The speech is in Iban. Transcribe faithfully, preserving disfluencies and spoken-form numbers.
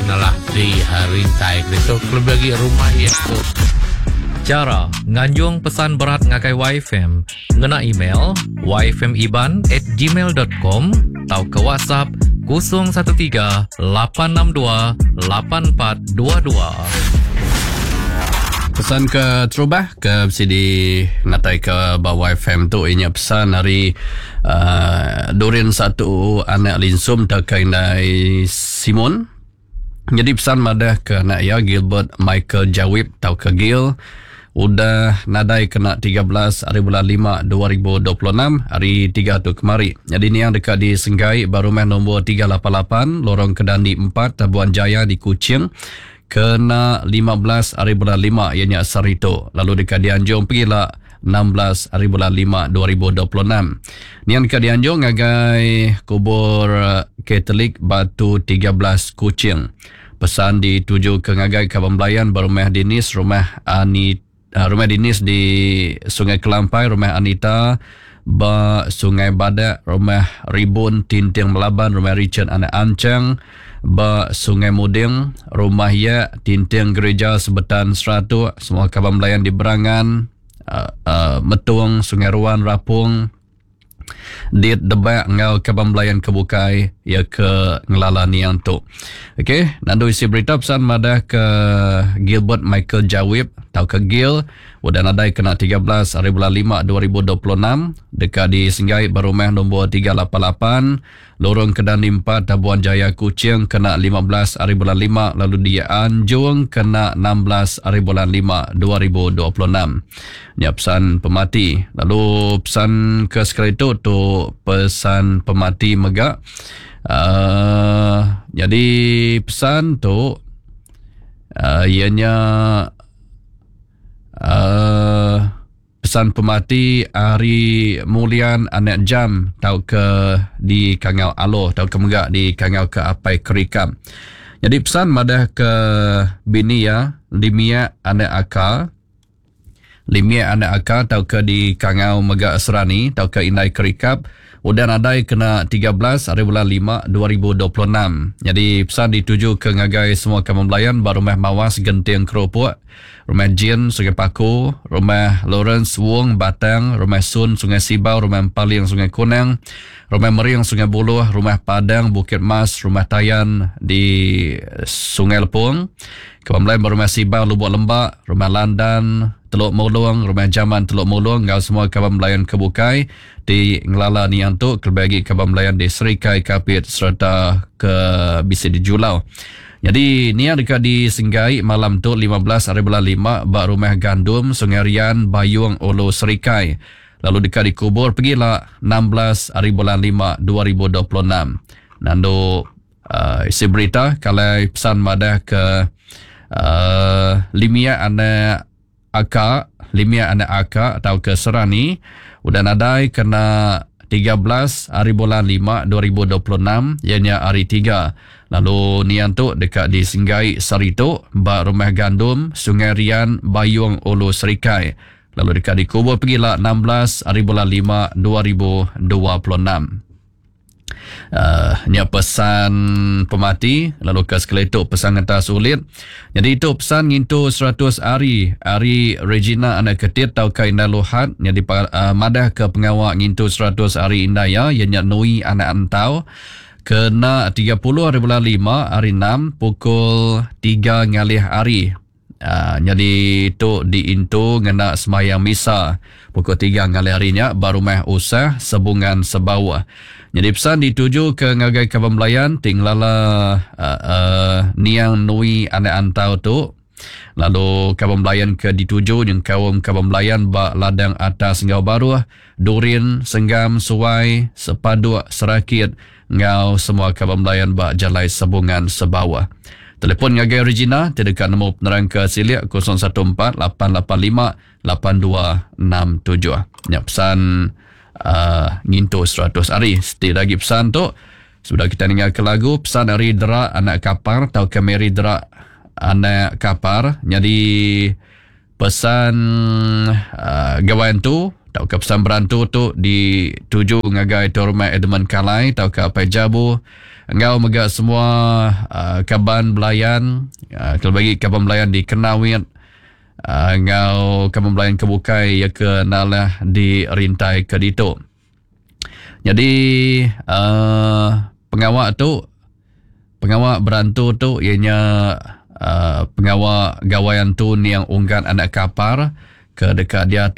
kenalah di rintai itu lebih lagi rumah ya tu. Chara nganjung pesan berat ngagai Y F M ngena email y f m iban at gmail dot com atau ke WhatsApp kosong satu tiga lapan enam dua lapan empat dua dua. Pesan ke terubah ke C D natai ke bawah Y F M tu inya pesan hari uh, Durin satu anak linsum tak indai Simon. Jadi pesan madah ke anak ya Gilbert Michael Jawib tau ke Gil udah nadai kena tiga belas hari bulan lima dua ribu dua puluh enam hari tiga tu kemari. Jadi ni yang dekat di Senggai baru rumah nombor tiga lapan lapan Lorong Kedandi empat Tabuan Jaya di Kuching kena lima belas hari bulan lima ianya Sarito. Lalu dekat di Anjung pergilah enam belas hari bulan lima dua ribu dua puluh enam. Ni yang dekat di Anjung ngagai kubur Katolik Batu tiga belas Kuching. Pesan dituju ke ngagai Kaban Belayan berumah Dinis, rumah Anita, rumah Dinis di Sungai Kelampai, rumah Anita ba Sungai Badak, rumah Ribun Tinting Melaban, rumah Richard Anak Ancang ba Sungai Muding, rumah Ya Tinting Gereja Sebetan Seratuk, semua Kaban Belayan di Berangan, uh, uh, Metung, Sungai Ruan, Rapung, Dit Debak ngau Kaban Belayan Kebukai ya ke ngelala niang tu. Okey, nandu isi berita pesan madah ke Gilbert Michael Jawib tau ke Gil udah nadai kena tiga belas hari bulan lima dua ribu dua puluh enam dekat di Senggai berumah nombor tiga lapan lapan Lorong Kedandi empat Tabuan Jaya Kuching kena lima belas hari bulan lima lalu di Anjung kena enam belas hari bulan lima dua ribu dua puluh enam. Ni pesan pemati. Lalu pesan ke sekali tu tu pesan pemati megak. Uh, jadi pesan tu uh, ianya uh, pesan pemati Ari Mulian Anak Jam tau ke di Kangau Aloh tau ke megak di Kangau ke Apai Kerikam. Jadi pesan madah ke bini ya Limia Anak Aka Limia Anak Aka tau ke di Kangau Megak Serani tau ke Indai Kerikap udah nadai kena tiga belas hari bulan lima dua ribu dua puluh enam. Jadi pesan dituju ke ngagai semua kamu belayan ba rumah Mawas Genting Keropok, rumah Jin Sungai Paku, rumah Lawrence Wong Batang, rumah Sun Sungai Sibau, rumah Empaling Sungai Kunang, rumah Meriang Sungai Buluh, rumah Padang Bukit Mas, rumah Tayan di Sungai Lepung, Kamu belayan rumah Sibau Lubuk Lembak, rumah Landan Teluk Mulung, rumah Jaman Teluk Mulung, ngau semua kawan belayan Kebukai di Ngelala Niang tu, kelebih lagi kawan belayan di Serikai Kapit serta ke Bisi di Julau. Jadi ni yang dekat di Senggai malam tu lima belas hari bulan lima bak rumah Gandum Sungai Rian Bayung Ulu Serikai. Lalu dekat dikubur pergilah enam belas hari bulan lima dua ribu dua puluh enam. Nandu uh, isi berita kalau pesan madah ke uh, Limia anak Aka, Limia anak Aka atau ke Serani udah nadai kena tiga belas hari bulan lima dua ribu dua puluh enam ianya hari tiga. Lalu nian tu dekat di Senggai Sarito ba rumah Gandum Sungai Rian Bayung Ulu Serikai. Lalu dekat dikubur pergilah enam belas hari bulan lima dua ribu dua puluh enam. Uh, ni pesan pemati. Lalu ke sekali itu pesan atas ulit. Jadi itu pesan ngintu seratus hari hari Regina anak ketit tau ke Indah Luhat. Jadi uh, madah ke pengawak ngintu seratus hari Indah ya ianya Nui anak Antau kena tiga puluh hari bulan lima hari enam pukul tiga ngalih hari. Uh, jadi tu diintu ngena semayang misa pukul tiga ngalih harinya baru rumah usah Sebungan Sebawah. Jadi pesan dituju ke ngagai Kaban Belayan tinglala uh, uh, Niang Nui anak Antau tu. Lalu Kaban Belayan ke dituju yang kaum Kaban Belayan ba ladang atas ngau baruh Durin Senggam Suai Sepaduk Serakit ngau semua Kaban Belayan ba Jalai Sebungan Sebawah. Telefon ngagai Regina tidak nemu penerang ke silik kosong satu empat lapan lapan lima lapan dua enam tujuh. Nya pesan uh, ngintu seratus hari. Setiap lagi pesan tu sudah kita dengar ke lagu pesan hari Derak anak kapar atau ke Mary Derak anak kapar. Jadi pesan uh, gawain tu atau ke pesan berantu tu dituju ngagai Torma Edmund Kalai atau ke Apai Jabu Enggau mega semua uh, kaban belayan, uh, kelebih lagi kaban belayan di Kenawit, uh, enggau kaban belayan ke bukai ya ke nalah di rintai ke ditu. Jadi uh, pengawa tu, pengawa berantu tu ianya uh, pengawa gawai antu niang Unggat anak Kapar ke dekat dia.